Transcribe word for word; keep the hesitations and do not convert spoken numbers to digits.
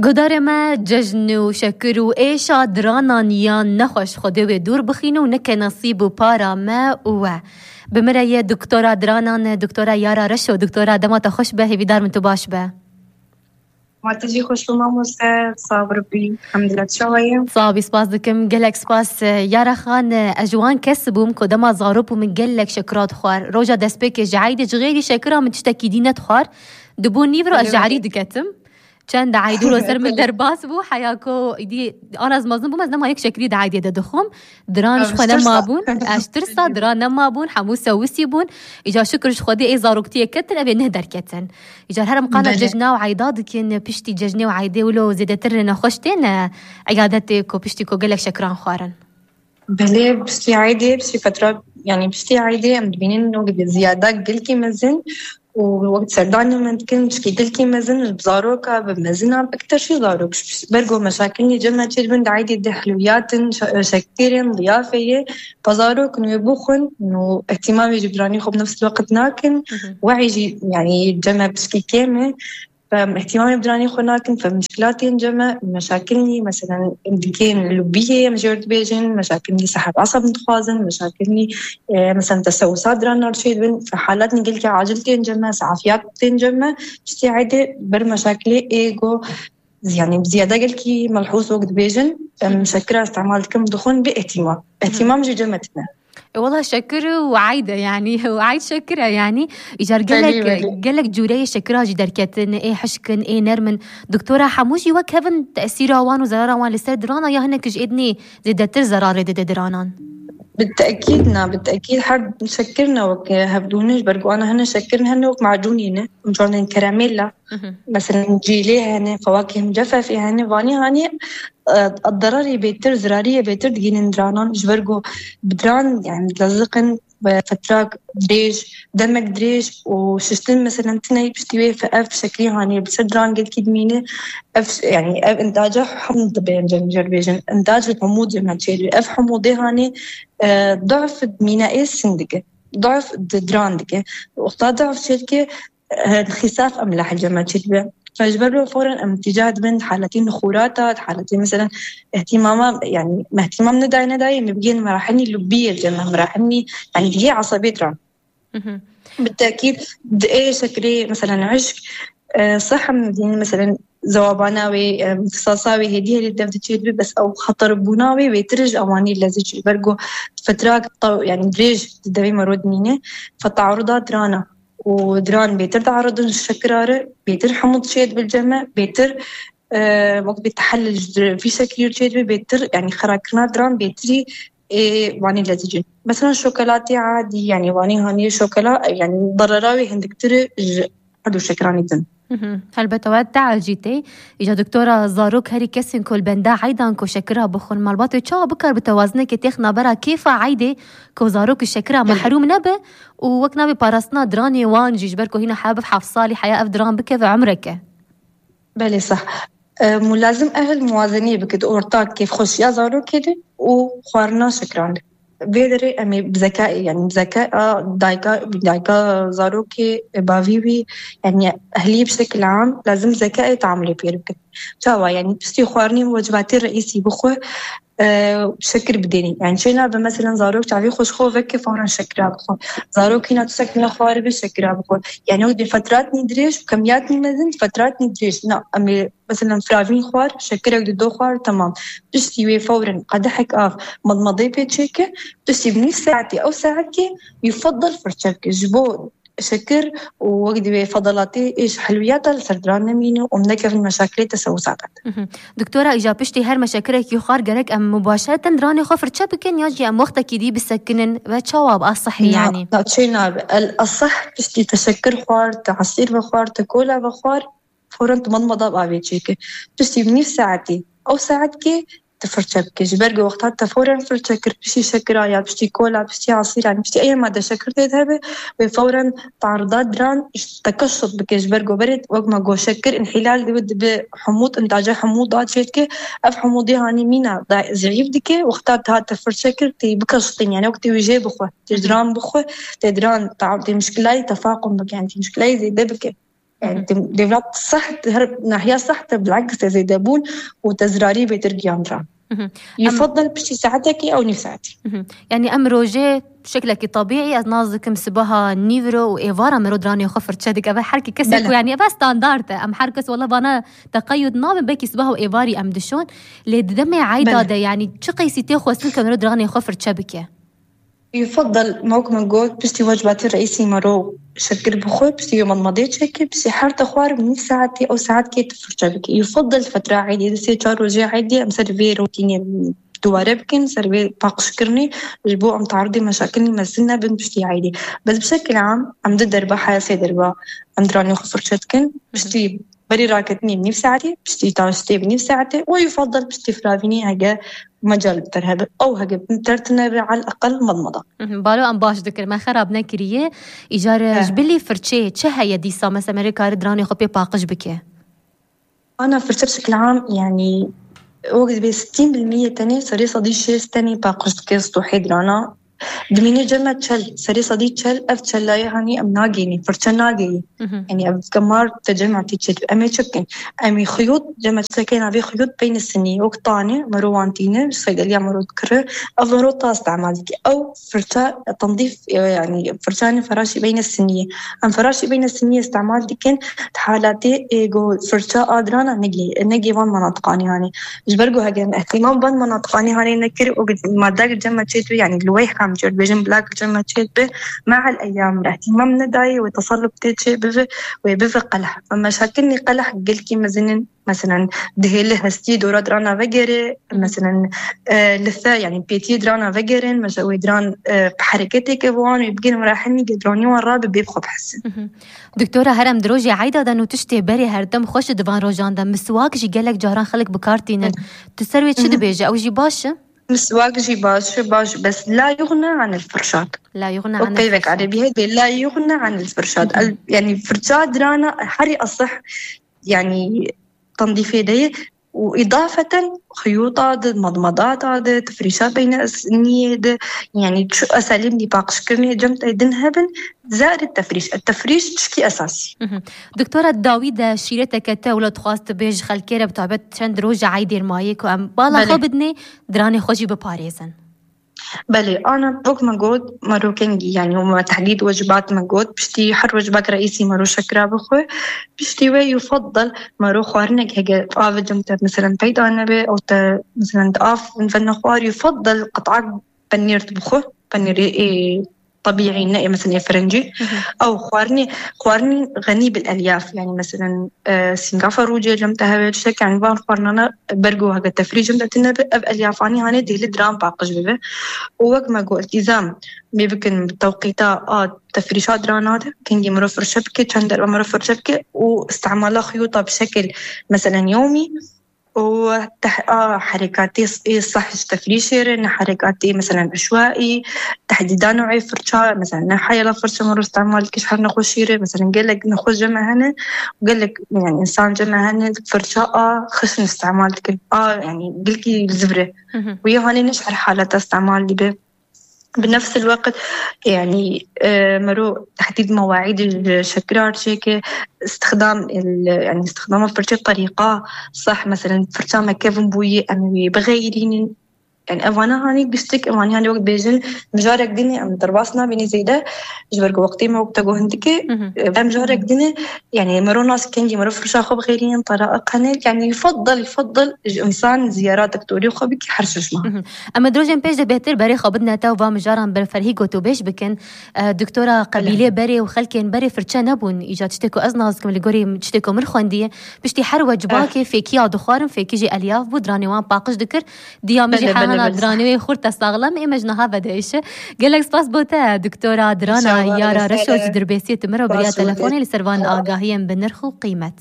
Guhdarê me, cejn û şekir û êşa diranan yan nexweş Xwedê wê dûr bixîne û neke nesîb û para me û we. Bi min re ye doktora diranan, doktora Yara Reşo. Doktora, dema te xweş be, hêvîdar min tu baş be. Ma tu jî xweş be mamoste, sax bî, elhamdulillah, çawa ye? Sax bî, spas dikim, gelek spas. Yara Xan, ez ji wan kes bûm ku dema zarok bûm min gelek şekira dixwar. Roja destpêkê ji eydê ji xêrî şekira min tiştekî dî nedixwar. Dibû nîvro ez ji erî diketim. Çend eydû li ser min derbas bû, heya ku îdî ana ez mezin bûm, ez nema yek şekirî di eydê de dixwim. Diran ji xwe nema bûn, ez tirsa diran nema bûn, hemû sewisî bûn. Îcar şikir ji Xwedê ê zaroktiyê ketin, ev ê neh derketin. Îcar her em qala cejna û eyda dikin, piştî cejnê û eydê wilo zêdetir nexweş têne eyadetê ku piştî ku gelek şekiran xwarin. Belê, piştî eydê, piştî fetra, yanî piştî eydê em dibînin wek bi ziyada gelkî mezin û wek serdanê me dikin piştî gelkî mezin, bi zaroka, bi mezinan, ekter jî zarok. Ber ku meşakilî cem me çêdibin di eydê de, hilwiyatin, şe-, şekirên, liyafeyê, pa zarok nû bixwin û ihtimamê ji biranî xwe bi nefs wekit nakin. Wehî jî, yanî cem me piştî kêm e. Fe ihtimamê bi diranê xwe nakin, fe mişkilatên cem me, meşakilnî, meselen, em dikên lubiyê, em jê dibêjin, meşakilnî seheb eseb dixwazin, meşakilnî, e, meselen, tesewusa diran navçê dibin, fe halatnî gelkî acil tên cem me, sehafiyat tên cem me, piştî eydê ber meşakilê ê go, yanî ziyade gelkî melhûz wek dibêjin, em şekira îstemal dikin, dixwin bi ihtimam. Ihtimam jî cem me tine. E, wela şekir û eyd e, yanî, û eyd şekir e, yanî. Îcar gelek, belê, belê, gelek cûreyê şekira jî derketin, ê hişk in, ê nerm in. Doktora, hemû jî wek hev in tesîra wan û zerara wan li ser dirana, ya hinek ji êdinê zêdetir zerarê dide diranan? Bi tekîd na, bi tekîd her şekir ne wek hevdû ne, ji ber ku ana hene şekir ne, hene wek macûnî ne, em çandên keramêl la. Mesela cîlê hene, fewakih micefefê hene, vanî hanî, e, derarê bêtir, zirariyê bêtir digînin diranan, ji ber ku bi diran, yani, dileziqin ve fetrak dirêj, demek dirêj û şiştin, mesela, tine piştî wê fe-, ev şekilî hanî bi ser diran gelkî dimîne, ev ş-, yani, ev intaca hemû dibe, em jê dibêjin, intac li hemû cem me çêdibê. Ev hemû dê hanî, e, daf mîna ê sin dike, daf di diran dike. Wexta daf çêdike, e, xîsaf em li hecê me çêdibe. Ji ber wê fawran em tîcah dibin di haletî nixûrata, di haletî, mesela, ihtimama, yani, me ihtimam nedayê, nedayê, me bigên merahinî lubiyê, cem me merahinî, yani, digê esebê diran. Bi tekîd, di ê şekilê, mesela, hişk, e, seh em dîn, mesela, zewabana wê, e, îhtisasa wê hêdî hêdî dev diçêdibe, bes ew xeterbûna wê wêtir ji ewanî lezî çi. Ber ku fetrak taw-, yani, dirêj di devê me ro dimîne, fe tearuda dirana. û diran bêtir diaridin ji şekira re, bêtir hemû diçêdibin cem me, bêtir, e, wek bê tehellil ji vî şekilî çêdibe, bêtir, yani, xerakirina diran bêtirî ê wanî lezîcin. Mesela şokolatê adî, yani, wanî hanî şokola, yani, darara wê hindiktir e ji her du şekiranî din. Helbet ew teal jî tê. Îca doktora, zarok herî kesên ku li benda eydan ku şekira bixwin, malbat wê çawa bikar bi tewazinekê têx nabera kêfa eydê ku zarok ji şekira mehrûm nebe û wek nabê parastina diranê wan jî, ji ber ku hîna heya biv heft salî heya ev diran bikeve umreke. Belê, seh. E, mulazim ehil muwazeniyê bike di orta kêfxweşiya zarokê de û xwarina şekiran de. Vê derê em ê bi zeka, yani bi zeka a dayka, dayka zarokê, bavî wî, yani ehliyê bi şekil am lazim zeka ê tamilê pêr bikin. Çawa, yani piştî xwarinê wecibatê reîsî bixwe, e, şekir bidênî. Yani çê nabe, mesela, zarok çavê xwe ji xwe veke fawran şekira bixwe. Zarok hîna tiştek nexwaribe şekira bixwe. Yani ew di fetratnî dirêj û kemiyatnî mezin, di fetratnî dirêj. Na, em ê, mesela, firavîn xwar, şekirek di do xwar, temam. Piştî wê fawran qedehek av, madmadê pê çêke, piştî bi nîv saetê, ew saetkê, yufadal firçe bike. Ji bo şekir û wek divê fedalatê ê ji helwiyata li ser diran nemîne û em nekevin meşakilê tesewusata de. Doktora, îja piştî her meşekirekî xwar gerek em mubaşereten diranê xwe firçe bikin ya jî em wextekî dî bisekinin ve çawa bi asehî, na, yani? Na, çê nabe. El aseh piştî te şekir xwar, te esîr vexwar, te kola vexwar, fawran tu madmada bi avê çêke. Piştî bi nîv saetî, ew saetkê tu firçe bike. Ji ber ku wexta te fawran firçe kir, piştî şekira ya, piştî kola, piştî esîran, piştî eye made şekir tê de hebe, wê fawran tarda diran ji te keşf bike. Ji ber ku berê wek me got şekir înhîlal dibe, dibe humûd, intaca humûda çêdike. Ev humûdê hanî mîna da zîîf dike. Wexta te hate firçe kir, tê bikeşitîn. Yani wek tê wê jê bixwe, tê diran bixwe, tê diran ta-, tê mişkilayî tefaqum bike, yani tê mişkilayî zêde bike. Yani, devlet saht, her nahiya saht, bilaks, te zêde bûn û te zirarî bêtir giyan ra. Yufadal piştî saetekî ew nîv saetî. Yani, em rojê şeklekî tabîî, ez nas dikim sibaha nîvro û êvara mero diranê xwe firçe dike. Ev her kesê ku, yani, ev standart e. Em her kes wela vana teqeyud nabin, belkî sibaha û êvarî em dişon. Lê di demê eyda de, yani, çi qeysî tê xwestin ku mero diranê xwe firçe bike? Yufadal, wek min got, piştî wecbatê reîsî mero şekir bixwe, piştî wê madmadê çêke, piştî her te xwar nîv saetê ew saetkê tu firçe bike. Yufadal fetra eydê, di sê çar rojê eydê em ser vê rotînê dubare bikin, ser vê paqijkirinê, ji bo em taridê meşakilî mezin nebin piştî eydê. Bes bi şekil am, em di derba heya sê derba em diranê xwe firçe dikin, piştî berî raketinê bi nîv saetê, piştî taştê bi nîv saetê û yufadal piştî firavînê hege mecal bi ter hebe. Ew hege bi ter tine be, al eqel madmada. Balo, em baş dikir, me xerab nekiriye. Îcar ji bilî firçeyê çi heye dîsa? Mesela merê kare diranê xwe pê paqij bike. Ana firçe bi şekil am, yani, wek dibê sîtîn bil mîyê tenê, serê sedî şêst tenê paqij dike stohê dirana. Dimîne cem me çel, serê sedî çel, ev çelayê hanî em nagênî, firçe nagêyî. Yani ev gemar te cem tê çêt, em ê çi bikin? Em ê xiyot, cem çekê navê xiyot beyne sinî, wek tanê, mero wan tîne, ji seydeliya mero dikire, ev mero ta istemal dike. Ew firça tendîf, e, yani firçanê feraşî beyne sinî. Em feraşî beyne sinî istemal dikin, di halatê, e, go firça a dirana negê, negê van manatiqanê hanê. Ji ber ku hege em îhtîmam van manatiqanê hanê nekir û madde cem me çêt, yani li wê hem çêt bêjin bilak cem me çêt bi, me'el eyyam îhtîmam nedayê wê tesellub tê çê bibe, wê bibe qeleh. Em meşakilnî qeleh gelkî mezin in, meselen, dihêli hestî dora dirana vegere, meselen, e, li se, yani pêtiyê dirana vegerin, mesela wê diran, e, bi hereketê ke wan wê bigin merahenî ge diranî wan rabe bê bi xwe bihesin. Doktora, her em di rojê eyda de nû tiştê berê herdem xweş di van rojan de. Miswak jî gelek caran xelk bi kar tînin. Tu ser wê çi dibêje? Ew jî baş e? Miswak jî baş e, baş, bes la yuxne anil firşat. La yuxne anil firşat. Peyvek erebî heye, la yuxne anil firşat. Yani firça dirana herî esih, yani tendîfê de ye. Û îdafeten xiyûta de, madmadata de, tefrîşa beyne niyê de, yani çi eselîm dî paqijkirinê cem te din hebin, zerê tefrîş. Tefrîş tişkî esasî. Doktora, dawî de şîreteke te wilo dixwast tu bêj xelkê re, bi taybet çend roja eydê mayê ku em bala xwe bidinê, diranê xwe jî biparêzin. Belê, ana wek me got, mero kengî, yani me tehdîd wecibat me got, piştî her wecibak reîsî mero şekira bixwe, piştî wê yufadal mero xwarinek hege av cem te, meselen, peyda nebe, ew te, meselen, di av ve nexwar, yufadal qit'ak penîr bixwe, penîrê ê tebîî ne ê, meselen, ê firencî. Ew xwarinê, xwarinê xenî bil elyaf, yani, meselen, e, sîngafa rûcê cem te hebe, tiştek, yani, van xwarinana bergo heke tefrî cem te tine be, ev elyafanî hanê dêli diran paqij bibe. Û wek me got, îltîzam bê bikin bi tewqîta a tefrîşa dirana de, kengî miro firçe bike, çend derve miro firçe bike û istemala xiyûta bi şekil, meselen, yomî, û teh-, a herekatê s-, ê seh ji tefrîşê re, ne herekatê, meselen, eşwaî, tehdîda newê firça, meselen, ne heyela firça miro îstemal dike ji her nexweşî re, meselen, gelek nexweş cem me hene, gelek, yani, însan cem me hene, firça a xişn îstemal dikin, a, yani, gelkî zivre. Wê hanê ne ji her haleta îstemal dibe. Bi nefs el-weqt, yani, e, mero tehdîd mewaîd ji şekirar çêke, istixdam el-, yani, istixdama firçe bi terîqa seh, meselen, firça me kevin bûyî, em wê bixeyrînin. Yani, evana hanî giştik, evanî hanî wek bêjin, mijarek dinê em derbas nabînî zêde, ji ber ku wextê me wek te got hindikê, e, em mijarek dinê, yani, mero nas kengî, mero firça xwe bixeyrînin, tara qenê, yani, yufadal, yufadal ji însan ziyara doktorê xwe bike her şeş mah. Em ê di rojên pêş de bêhtir berê xwe bidine te û va mijaran ber ferhî gotûbêj bikin. E, doktora, qebîlê berê û xelkên berê firçe nebûn. Îca tiştê ku ez nas dikim li gorî tiştê ku min xwendiye. Piştî her wecibakê fêkiya dixwarin, fêkî jî elyaf bû, diranê wan paqij dikir. Diya min jî hehana diranê wê xurt e saxlem, ê me ji niha vedihêşe. Gelek spas bo te, doktora Dirana Yara Reşo ji Dirbêsiyê tu min re biriya telefonê li ser van agahiyên bi nirx û qîmet.